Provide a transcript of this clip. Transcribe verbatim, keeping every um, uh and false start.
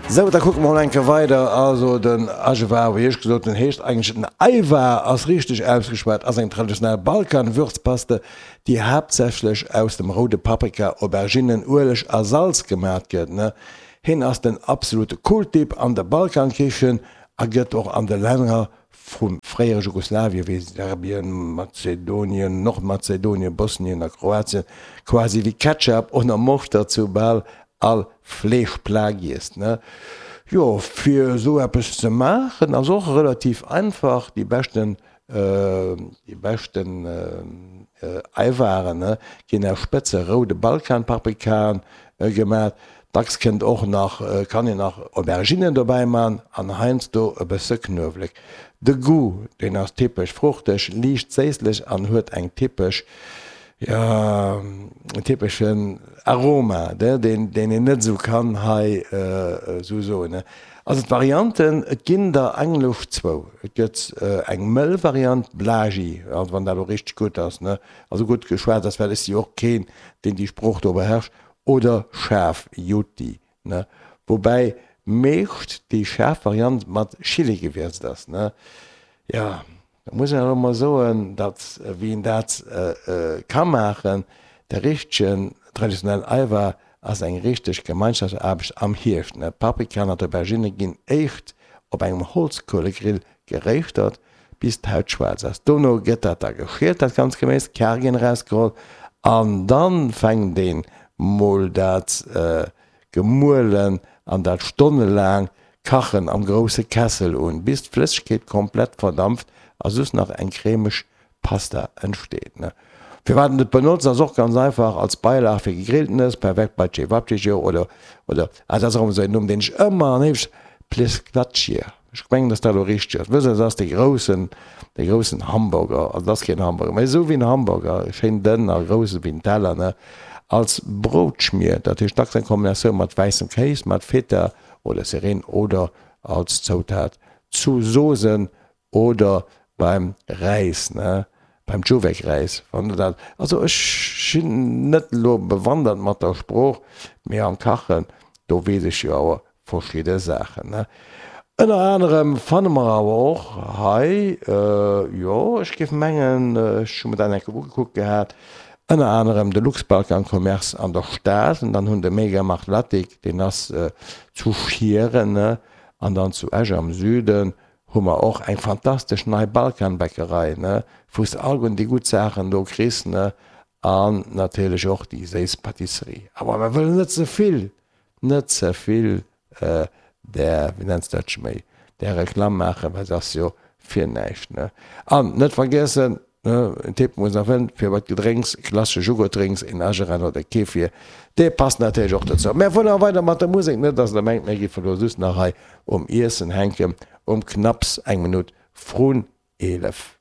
Sou, da kucke mer mol eng Kéier weider. Also den Ajvar, wéi ech gesot hunn, heescht eigentlech den Ajvar, ass richteg ausgeschwat, ass eng traditionell Balkan-Würzpaste, déi haaptsächlech aus dem roude Paprika, Auberginnen, Ueleg a Salz gemat gëtt. Hien ass den absolute Kultdip an der Balkankichen a gëtt och an de Länner vum fréiere Jugoslawien, wéi Serbien, Mazedonien, Nordmazedonien, Bosnien a Kroatien, quasi wéi Ketchup oder Moschter zu bal all Fleeschplat giess. Jo, fir esou eppes ze maachen ass och relativ einfach. Déi beschten déi beschten Eiwaren ginn aus spëtze roude Balkanpaprikaen gemat. Dacks kënnt och nach, kann een nach Auberginnen dobäi man an heiansdo e bësse Knuewelek. De Goût, deen ass typesch fruchteg, liicht séisslech an huet eng typesch, jo, en typeschen Aroma, deen deen een net esou kann hei esou soen. Also d'Varianten, et ginn der eigentlech zwou. Et gëtt eng mëll Variant, Blagi, also wann dat elo richteg gutt ass, ne, also gutt geschwat ass, well ech si och keen, deen déi Sprooch do beherrscht, Oder schaarf, Juti, ne? Woubäi meescht déi schaarf Variant mat Chili gewierzt ass, ne? Jo, da muss een elo mol soen, datt, wéi een dat ka maachen, de richtegen traditionellen Ajvar ass eng richteg Gemeinschaftsaarbecht am Hierscht, ne? D'Paprikaen an d'Auberginne ginn éischt op engem Holzkuelegrill geréischtert, bis d'Haut schwaarz ass. Dono gëtt dat da geschielt, dat ganzt Geméis, d'Kare ginn erausgeholl an dann fänkt een mol dat Gemuelen an dat stonnelaang Kachen am grousse Kessel un, bis d'Flëssegkeet komplett verdampft a just nach eng cremeg Pasta entsteet. Firwat een et benotzt ass och ganz einfach, als Beilag fir Gegrilltenes, perfekt bei Cevapcici oder, oder, ah dat ass erëm esou een Numm deen ech ëmmer an éiweg, Plesklatschir, ech mengen dass dat elo richteg ass, wësst der, dat ass dee groussen, dee groussen Hamburger, also dat ass keen Hamburger, mä esou wéi en Hamburger, schéin dënn a grouss ewéi en Teller, ne, als Broutschmier, dat heescht dacks eng Kombinatioun mat wäissem Kéis, mat Feta oder Sirene oder als Zoutat zu Sosen oder beim Räis, ne, beim Djuvec-Räis, wann de dat, also ech sinn net elo bewandert mat der Sprooch, mee am Kachen, do weess ech jo awer verschidde Saachen, ne. Ënner anerem fanne mer awer och hei, jo, ech géif mengen, ech hu mer dat eng Kéier ugekuckt gehat, ënner anerem de Luxbalkan Commerce an der Stad, an dann hunn de Megamarkt Latic, deen ass zu Schieren, ne, an dann zu Esch am Süden hu mer och eng fantastesch nei Balkanbäckerei, ne, wou s de alleguerten déi gutt Saachen do kriss, ne, an natierlech och déi séiss Pâtisserie. Awer mer wëllen net ze vill, net ze vill där, wéi nenns de dat scho méi, där Reklamm maachen, well se ass jo fir näischt, ne. An net vergiessen, ne, en Tipp muss nach fënn, fir bei d'Gedrénks, klassesche Jugurtdrinks, een Ageran oder Kefir, dee passt natierlech och dozou. Mä fueren awer weider mat der Musek, net dass der mengt, mir géife lo just nach hei um Iessen hänken, um knapps eng Minutt vrun eelef.